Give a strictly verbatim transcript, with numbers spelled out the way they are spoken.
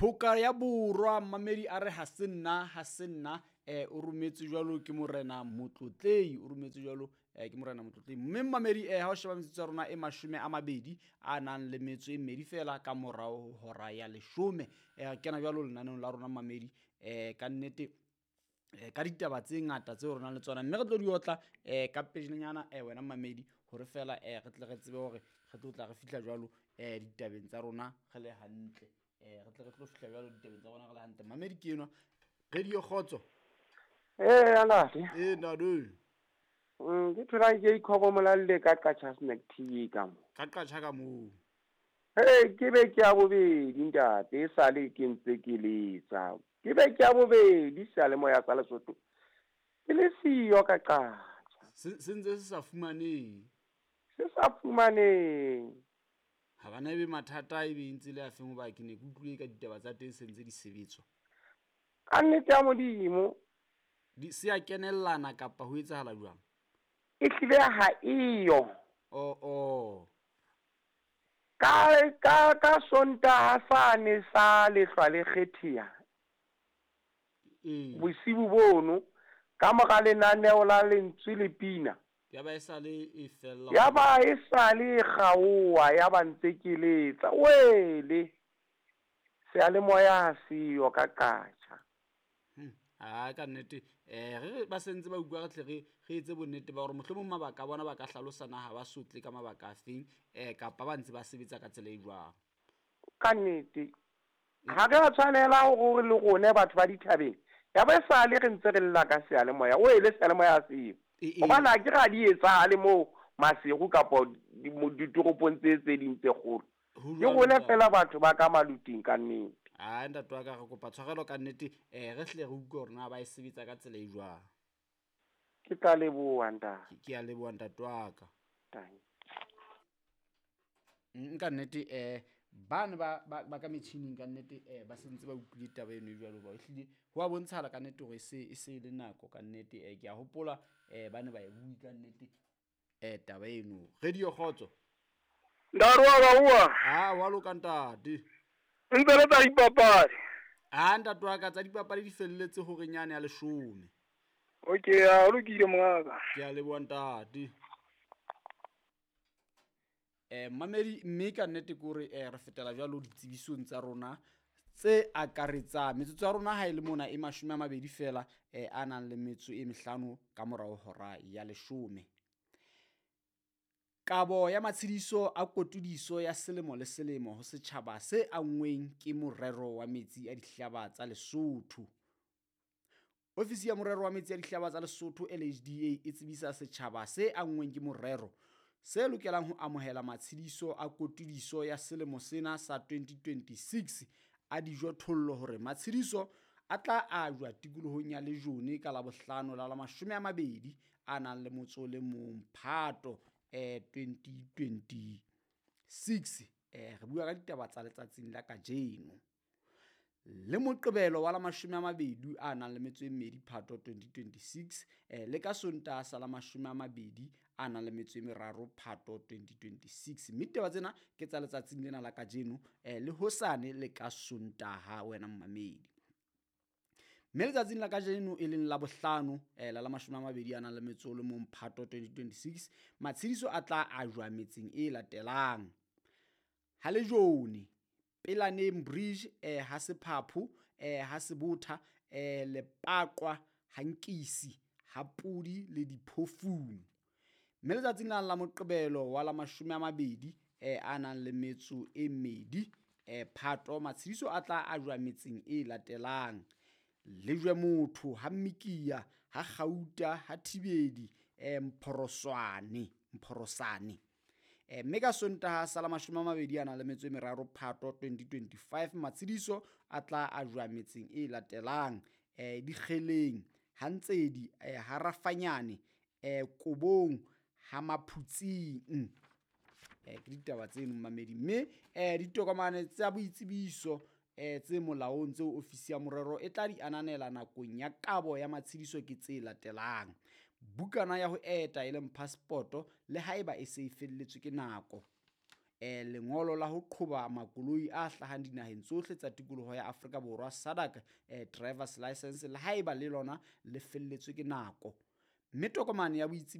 Phoka ya Borwa mmamedi a re ha se nna ha se nna eh o rometse jwalo ke morena Motlotlei, o rometse jwalo eh ke morena Motlotlei. Mme mmamedi eh ha o sheba metsotso ya rona e mashome a mabedi a nang le metso e mmedi fela ka morao ho hora ya leshome. Eh re kena jwalo lenaneong la rona mmamedi eh ka nnete eh ka ditaba tse ngata tseo re nang le tsona, mme re tlo di otla eh ka pejanyana eh wena mmamedi hore fela eh re tle re tsebe hore re tlo tla re fihla jwalo eh ditabeng tsa rona re le hantle. Eh re tle re tlo fihla jwalo ditabeng tsa rona re le hantle. Mmamedi ke enwa Radio Kgotso. Eh ntate. Eh ntate. Mm ke thola ke ikhokomolalle ka Qacha Snack T V ka mo. Ka Qacha ka mo. Hey ke be ke ya bobedi ntate, e sale ke ntse ke letsa. Ke be ke ya bobedi seyalemoya sa Lesotho. Ke le siyo ka Qacha. Se se ntse se sa fumanehe. Se sa fumanehe. Ha bana ebe mathata ebe ntse le a feng hoba ke ne ke utlwile ka ditaba tsa teng se ntse di sebetswa. Ka nnete ya Modimo. Di se a kenellana kapa ho etsahala jwang? E hlile ha eyo. Oh oh. Ka ka ka Sontaha sane sa lehlwa le kgetheha. Ee. Bosibu bono ka mora lenaneo la Lentswe le Pina. Ya ba e sale e fella. Ya ba e sale e kgaoha, ya ba ntse ke letsa. Wele. Seyalemoya ha seyo ka Qacha. Hmm. Ah ka nnete eh re ba sentse ba utlwa re tle re re etse bonnete ba hore mohlomong mabaka a bona ba ka hlalosa na ha ba sotle ka mabaka a feng eh kapa ba ntse ba sebetsa ka tsela e jwang. Ka nnete ha re a tshwanela hore le rone batho ba dithabeng ya ba sale re ntse re lla ka seyalemoya, o ele seyalemoya ha seyo. Hobane ha ke ra di etsahale moo Maseru kapa ditoropong tse tse ding tse kgolo. Ke rone fela batho ba ka maluting ka nnete. Ah ntate wa ka re kopa tshwarelo ka nnete eh re hle re utlwe hore na ba e sebetsa ka tsela e jwang. Ke tla leboha ntate. Ke a leboha ntate wa ka. Thank. Nka nnete eh bana ba ba ka metjhining ka nnete eh ba sentse ba utlwile taba eno jwalo ba ehlile ho a bontshala ka nnete hore se e se le nako ka nnete eh ke a hopola eh bana ba e bui ka nnete eh taba eno. Radio Kgotso. Ntate wa ka bua. Ah wa loka ntate. Ntse le tsa dipapadi. Ah ntate wa ka tsa dipapadi di felletse hore nyane ya leshome. Okay, a lokile mongaka. Ke a leboha ntate. Eh mamedi mme ka nnete ke hore eh re fetela jwalo ditsebisong tsa rona tse akaretsang metsotso ya rona ha e le mona e mashome a mabedi fela eh a nang le metso e mehlano ka morao hora ya leshome. Kabo ya matshediso a kotudiso ya selemo le selemo ho setjhaba se anngweng ke morero wa metsi a dihlaba tsa Lesotho. Ofisi ya morero wa metsi a dihlaba tsa Lesotho L H D A e tsebisa setjhaba se anngweng ke morero se lokelang ho amohela matshediso a kotudiso ya selemo sena sa twenty twenty-six a dijothollo hore matshediso a tla ajwa tikolohong ya Lejone ka Labohlano la la mashome a mabedi a nang le motso le mong Phato eh twenty twenty-six. Eh re bua ka ditaba tsa letsatsing la kajeno. Le Moqebelo wa la mashome a mabedi a nang le metso e mmedi Phato twenty twenty-six eh le ka Sontaha sa la mashome a mabedi a nang le metso e meraro Phato twenty twenty-six. Mme ditaba tsena ke tsa letsatsing lena la kajeno eh le hosane le ka Sontaha wena mmamedi. Mme letsatsing la kajeno e leng la bohlano eh la la mashome a mabedi a nang le metso le mong Phato twenty twenty-six matshediso a tla ajwa metseng e latelang. Ha Lejone, Pelaneng Bridge eh ha Sephapho eh ha Sebotha eh Lepaqwa ha Nkisi ha Pudi le Diphofung. Mme letsatsing la la Moqebelo wa la mashome a mabedi eh a nang le metso e mmedi eh Phato matshediso a tla ajwa metseng e latelang. Lejwe motho ha Mmikia ha Gauta ha Thibedi eh Mphoroswane Mphorosane. Eh mme ka Sontaha sa la mashome a mabedi a nang le metso e meraro Phato twenty twenty-five matshediso a tla ajwa metseng e latelang. Eh Dikgeleng ha Ntsedi eh ha Rafanyane eh Kobong ha Maphutsing. Eh ke ditaba tseno mmamedi mme eh ditokomane tsa boitsebiso eh tse molaong tseo ofisi ya morero e tla di ananela nakong ya kabo ya matshediso ke tse latelang. Bukana ya ho eta e leng passport le haeba e se e felletswe ke nako. eh, lengolo la ho qhoba makoloi a hlahang dinaheng tsohle tsa tikoloho ya Afrika Borwa SADC eh, drivers license le haeba le lona le felletswe ke nako. Mme tokomane ya boitsebiso